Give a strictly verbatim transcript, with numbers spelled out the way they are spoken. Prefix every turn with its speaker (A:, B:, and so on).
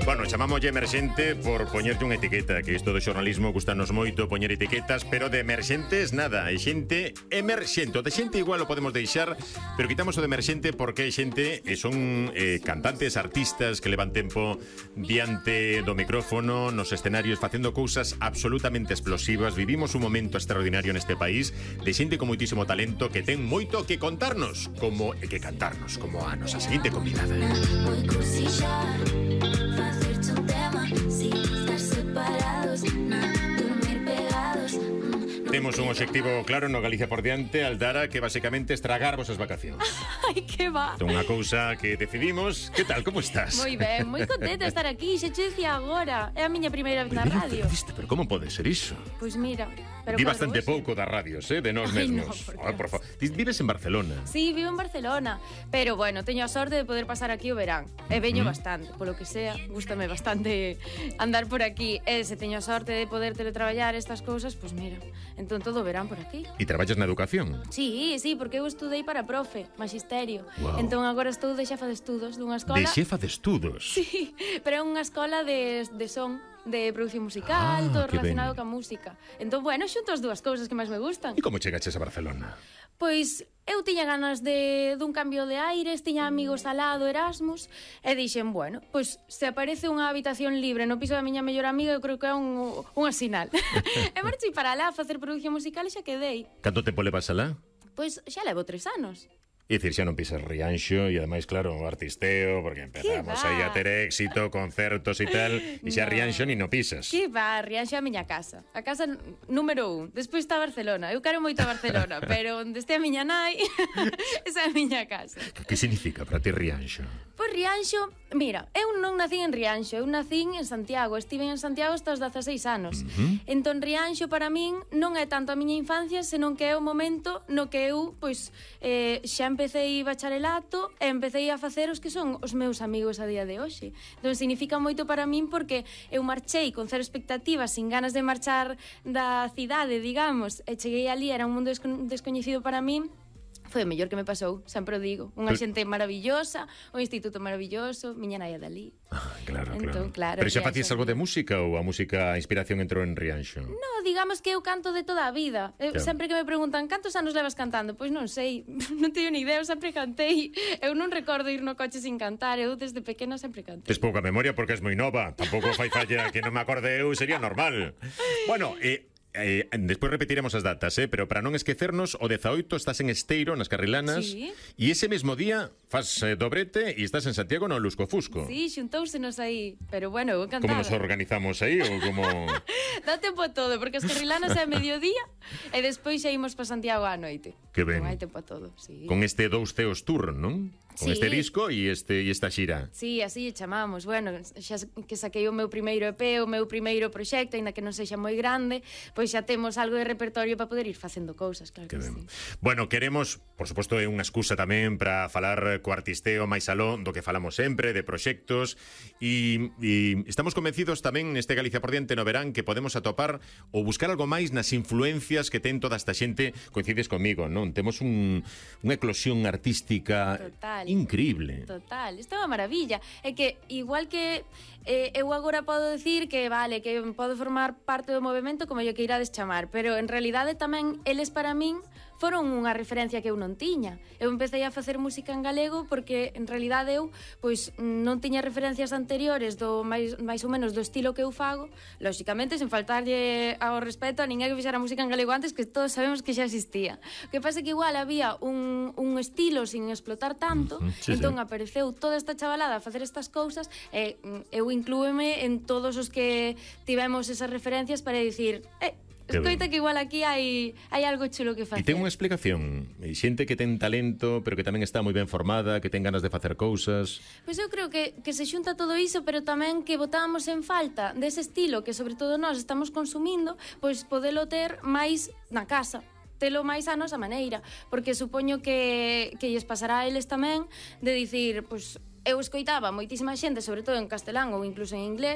A: Bueno, chamámoslle emerxente por poñerte unha etiqueta, que isto do xornalismo gustanos moito poñer etiquetas, pero de emerxentes nada, hai xente emerxente. O de xente igual o podemos deixar, pero quitamos o de emerxente porque hai xente e son eh, cantantes, artistas que levan tempo diante do micrófono, nos escenarios, facendo cousas absolutamente explosivas. Vivimos un momento extraordinario neste país de xente con moitísimo talento que ten moito que contarnos, como e que cantarnos, como a nosa seguinte convidada. Temos un obxectivo claro no Galicia por diante, Aldara, que basicamente estragarvos as vacacións.
B: Ai, que va.
A: Unha cousa que decidimos. Que tal, como estás?
B: Moi ben, moi contenta de estar aquí. Xa che dicía agora. É a miña primeira vez na radio.
A: Pero, pero como pode ser iso?
B: Pois mira, pero
A: Vi bastante
B: hoxe.
A: pouco das radios, eh, de nós
B: Ai,
A: mesmos.
B: no, por
A: Ah, por favor. Vives en Barcelona?
B: Sí, vivo en Barcelona. Pero bueno, teño a sorte de poder pasar aquí o verán. E veño
A: Mm.
B: bastante, polo que sea. Gústame bastante andar por aquí. E se teño a sorte de poder teletraballar estas cousas, pois mira, entón todo o verán por aquí.
A: E traballas na educación?
B: Sí, sí, porque eu estudei para profe, magisterio.
A: Wow.
B: Entón agora estou de xefa de estudos dunha escola.
A: De xefa de estudos?
B: Sí, pero é unha escola de, de son, de produción musical,
A: Ah,
B: todo
A: que
B: relacionado
A: ben.
B: ca música. Entón, bueno, xunto as dúas cousas que máis me gustan.
A: E como chegaches a Barcelona?
B: Pois eu tiña ganas de dun cambio de aires, tiña amigos al lado, Erasmus, e dixen, bueno, pois se aparece unha habitación libre no piso da miña mellor amiga, eu creo que é un, unha sinal. E marchei para lá a facer produción musical e xa quedei.
A: Canto tempo levas alá?
B: Pois xa levo tres anos.
A: É dicir, xa non pisas Rianxo e ademais, claro, o artisteo, porque empezamos
B: va?
A: aí a ter éxito, concertos e tal, e xa
B: No.
A: Rianxo ni no pisas.
B: Que va, Rianxo é a miña casa. A casa n- número un. Despois está Barcelona. Eu quero moito a Barcelona, pero onde este a miña nai, esa é a miña casa.
A: Que significa para ti Rianxo?
B: Pois Rianxo, mira, eu non nacín en Rianxo, eu nacín en Santiago, estive en Santiago hasta os dezaseis anos.
A: Uh-huh.
B: Entón Rianxo para min non é tanto a miña infancia, senón que é o momento no que eu, pois, eh, xa empecéi bacharelato e empecéi a facer os que son os meus amigos a día de hoxe. Entón significa moito para min porque eu marchei con cero expectativas, sin ganas de marchar da cidade, digamos, e cheguei ali, era un mundo desco- descoñecido para min. Foi o mellor que me pasou, sempre o digo. Unha
A: Pero-
B: xente maravillosa, un instituto maravilloso, miña nai é dali.
A: Ah, claro,
B: Entón, claro,
A: Pero xa
B: Rianxo.
A: facías algo de música ou a música, a inspiración entrou en Rianxo?
B: No, digamos que eu canto de toda a vida. Eu,
A: Claro.
B: Sempre que me preguntan cantos anos levas cantando, pois non sei, non teño ni idea, eu sempre cantei. Eu non recordo ir no coche sin cantar, eu desde pequena sempre cantei.
A: Tes pouca memoria porque és moi nova. Tampouco fai falla que non me acorde eu, sería normal. Bueno, eh, eh, despois repetiremos as datas, eh, pero para non esquecernos, o dezaoito estás en Esteiro, nas Carrilanas,
B: Sí.
A: e ese mesmo día fas eh, dobrete e estás en Santiago no Lusco Fusco.
B: Sí, xuntóusenos aí, pero bueno, eu
A: Como
B: cantaba.
A: nos organizamos aí ou como...
B: Dá tempo a todo, porque as carrilanas é a mediodía e despois xa imos para Santiago á noite.
A: Que ben.
B: Non hai tempo a todo, sí.
A: Con este dous ceos tour, non? Con
B: Sí.
A: este disco e este e esta xira.
B: Sí, así lle chamamos. Bueno, xa que saquei o meu primeiro E P, o meu primeiro proxecto, aínda que non sexa moi grande, pois xa temos algo de repertorio para poder ir facendo cousas, claro
A: Que
B: que,
A: ben.
B: sí.
A: Bueno, queremos, por suposto, é unha excusa tamén para falar co artisteo máis aló do que falamos sempre, de proxectos, e, e estamos convencidos tamén neste Galicia por diante no verán que podemos atopar ou buscar algo máis nas influencias que ten toda esta xente. Coincides comigo, non? Temos un, unha eclosión artística
B: Total.
A: increíble.
B: Total, isto é unha maravilla. É que, igual que eh, eu agora podo decir que, vale, que podo formar parte do movimento como yo queirades chamar, pero en realidade tamén eles para min foron unha referencia que eu non tiña. Eu empecé a facer música en galego porque en realidade eu pois non tiña referencias anteriores do máis, máis ou menos do estilo que eu fago, lóxicamente sen faltarlle ao respeto a ninguén que fixera música en galego antes, que todos sabemos que xa existía. O que pasa é que igual había un, un estilo sin explotar tanto,
A: Uh-huh, sí,
B: entón
A: sí.
B: apareceu toda esta chavalada a facer estas cousas e mm, eu inclúeme en todos os que tivemos esas referencias para dicir, eh,
A: Que
B: escoita
A: ben.
B: que igual aquí hai, hai algo chulo que
A: E
B: facer.
A: ten unha explicación. Hai xente que ten talento, pero que tamén está moi ben formada, que ten ganas de facer cousas.
B: Pois eu creo que, que se xunta todo iso, pero tamén que botábamos en falta dese estilo que sobre todo nós estamos consumindo, pois podelo ter máis na casa, telo máis a nosa maneira, porque supoño que, que lles pasará a eles tamén de dicir, pois eu escoitaba moitísima xente, sobre todo en castelán ou incluso en inglés,